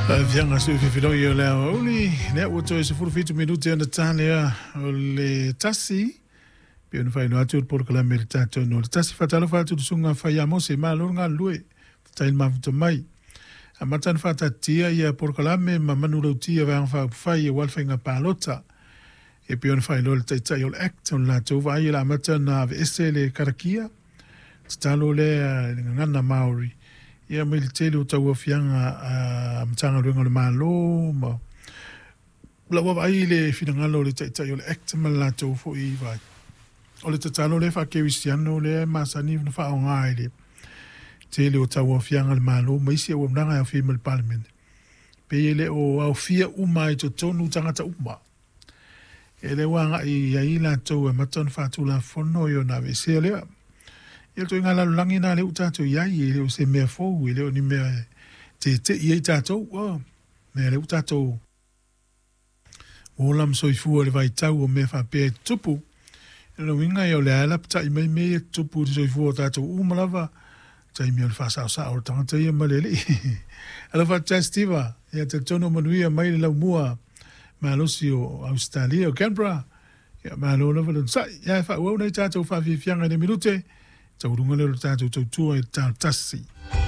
Tauaofiaga sui fifiloi o le aoauli, lea ua toe 17 minute ona ta lea o le 1, pei ona faailoa atu le polokalame i le tatou no le 1. Faatalofa atu i le susuga Faia Mose, malo le galulue, faafetai le mafuta mai. Amata ona faataatitia ia polokalame ma manulauti a Vaega Faaupufai aua le faiga palota. E pei ona faailoa e le Taitai o le Act, o le latou vaai o le a amata ona aveese le karakia, tatalo lea i le gagana Māori, ia mai le tele o tauaofiaga a Matagaluega o le Malo ma lau vaavaai i le finagalo o le Taitai o le Act ma le latou foi vaai. O le tatalo lea faakerisiano lea e masani ona faaaoga i le tele o tauaofiaga a le Malo ma isi auaunaga e aofia ai ma le Palemene, pei e le o aofia uma ai i totonu tagata uma. E le ua agai i ai latou e amata ona faatulafono i ona aveesea lea. Ia o le ituaiga lalolagi lena lea ua tatou i ai, e le o se mea fou, e le o ni mea e tete'i ai tatou. O mea lea ua tatou ola ma soifua i le vaitau o mea faapea e tutupu. O lona uiga o lea e lapatai mai mea ia e tutupu i le soifua o tatou uma lava, taimi o le faasaosao o le tagata ia ma le alii. Alofa atu Steve, ia talitonu manuia mai le laumua malosi o Ausetalia o Canberra. Ia malo lava le onosai. Ia e faaauau nai tatou faafiafiaga i le minute, taualuga lea o le tatou tautua i le ta o le 1.